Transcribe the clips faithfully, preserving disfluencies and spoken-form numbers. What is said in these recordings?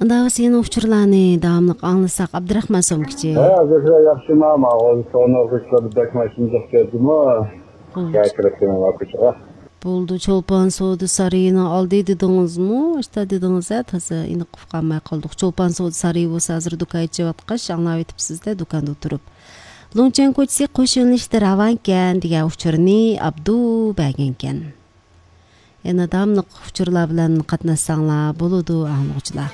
Анда сенин учурларны даамлык аңласак, Абдрахман Сомкичи. Азыр жакшы мама, ол соно кышлар документин жактырдымы? Кайракын вакытга. Болду, Чолпан сооду сарайына алды дедиңизми? Ашта дедиңиз а таза иныкып калмай калдык. Чолпан сооду сарайы болсо азыр дукан ичип аткач, аңлап этипсиз да дуканда отуруп. Лоңчен көчсө кошулуштар аванкен деген учурны Абду бәгенкен. Яна даамлык учурлар менен катнассаңлар болоду аңлоочулар.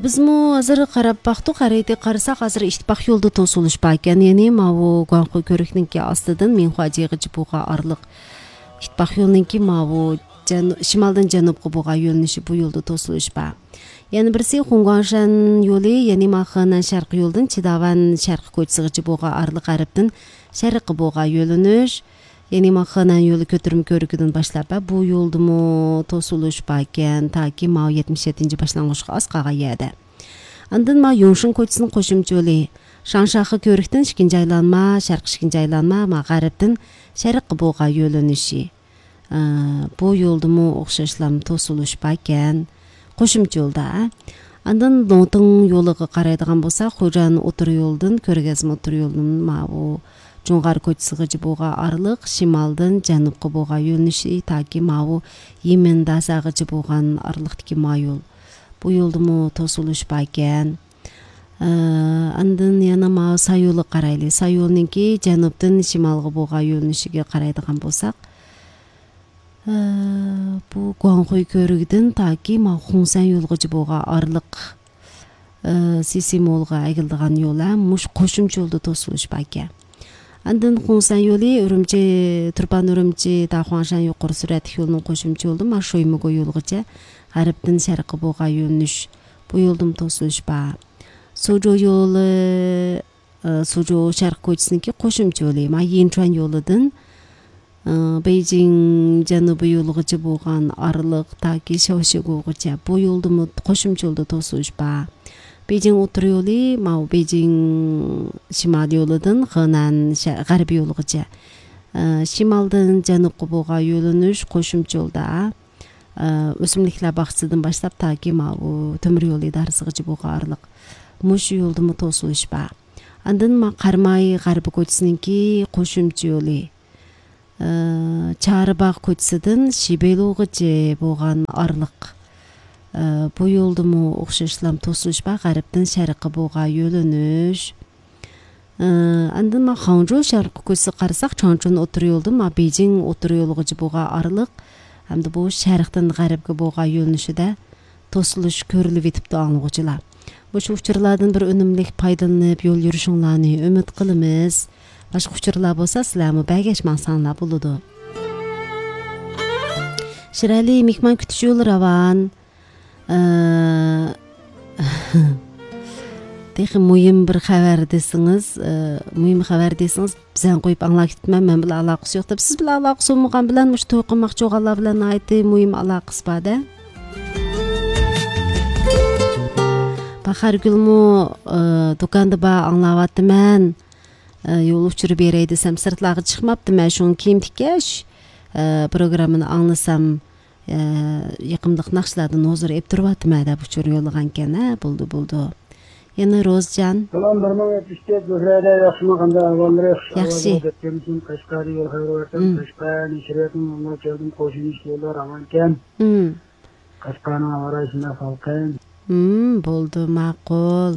Бизмо азыр карап бактык, карайты карасак азыр иштибак жолду тосулушпа экен. Эни мабу Гуанхой көрүкнүнки астыдан Минхуажыга жибууга арлык иштибак жолунунки мабу шималдан жанубга буга жөнүшү бу жолду тосулушпа. Яны бирси Хунгуаншан жолу, яны Маханан шаркы жолдун Чидаван шаркы көчсүгө жибууга арлык арыптын шаркы буга жөнүш. Яны Маханан жолу көтөрүм көрүкүдөн башлап бу жолдуму тосулушпа экен, таки ма жетимиш жетинчи башлангычка аскага жаады. Андан ма Юншун көчүсүнүн кошумча жолу Шаншахы көрүктөн Шикинжи айланма, Шаркы Шикинжи айланма, ма гарыптын шаркы буга жөнүшү. Бу жолдуму окшошлам тосулушпа экен. Кошумча жолда. Андан Лоңтың жолуга карайдыган болсак, Хожан отур жолдун, Көргөзм отур жолунун мабу Жоңгар көчсүгө жибууга арлык шималдан жанубга буга жөнүшү, таки мабу Емен дасагы жибууган арлыктыки ма жол. Бу жолдуму тосулушпа экен. Андан яна ма Сайолу карайлы. Сайолунунки жанубтан шималга буга жөнүшүгө карайдыган болсак, бу Гуанхой көрүгүдөн таки ма Хунсан жолго жибууга арлык Сисимолго айгылдыган жол муш кошумча жолду тосулушпа экен. Андан Хунсан жолу Үрүмчи, Турпан Үрүмчи, Дахуаншан жокор сүрөт жолунун кошумча жолду ма Шоймого жолгуча гарыптын шаркы буга жөнүш. Бу жолдун тосулушпа. Сужо жолу, Сужо шаркы көчүсүнүнки кошумча жолу ма Йинчуан жолудун Бейжиң жанубу жолуга жибууган арлык таки Шаошигогуча бу жолдун кошумча жолду тосулушпа. Бейжиң отур жолу ма Бейжиң шимал жолудун Хэнан гарбий жолугуча шималдан жанубга буга жөнүш кошумча жолда өсүмдүктөр бакчасынан баштап таки ма Төмөр жол идарасыга жибууга арлык муш жолдуму тосулушпа. Андан ма Кармай гарбы көчүсүнүнки кошумча жолу Чарыбак көчүсүдөн Шибелууга жибууган арлык бу жолдуму окшошлам тосулушпа, гарыптын шаркы буга жөнүш. Андан ма Ханчжоу шаркы көчүсү карасак, Чаңчун отур жолдун ма Бейжиң отур жолуга жибууга арлык hamda бу шарктан гарипке буга жөнүшү да тосулуш көрүлүп этипти аңлоочулар. Бушу учурлардан бир өнүмлүк пайдаланып жол жүрүшүңларны үмүт кылабыз. Башка учурлар болсо силерми байгешмаңсаңлар болоду. Ширали мекман күтүш жолу раван. Техим муйим бир хабар десиңиз, муйим хабар десиңиз, бизен коюп аңлап кетмем, мен биле алакасы жок деп. Сиз биле алакасы болмаган билен уш той кылмакчы болгонлар билен айты муйим алакасы бар да. Бахаргүлмү дуканды ба аңлап аттыман. Жол учур берей десем сыртларга чыкмапты. Мен шуну кийим тикеш программаны аңласам якымдык накшылардан озур эп туруп аттым да учур жолуган экен, а болду болду. Яна Розжан. Салам барман этиште gözlerde yaxşımaganda avvalları Yaxşı. Temizin Kaşkari yol hayrovatın Kaşkari nişiretin onunla geldim koşun işliyorlar amanken. Kaşkari'nin avarajına falken. Boldu maqul.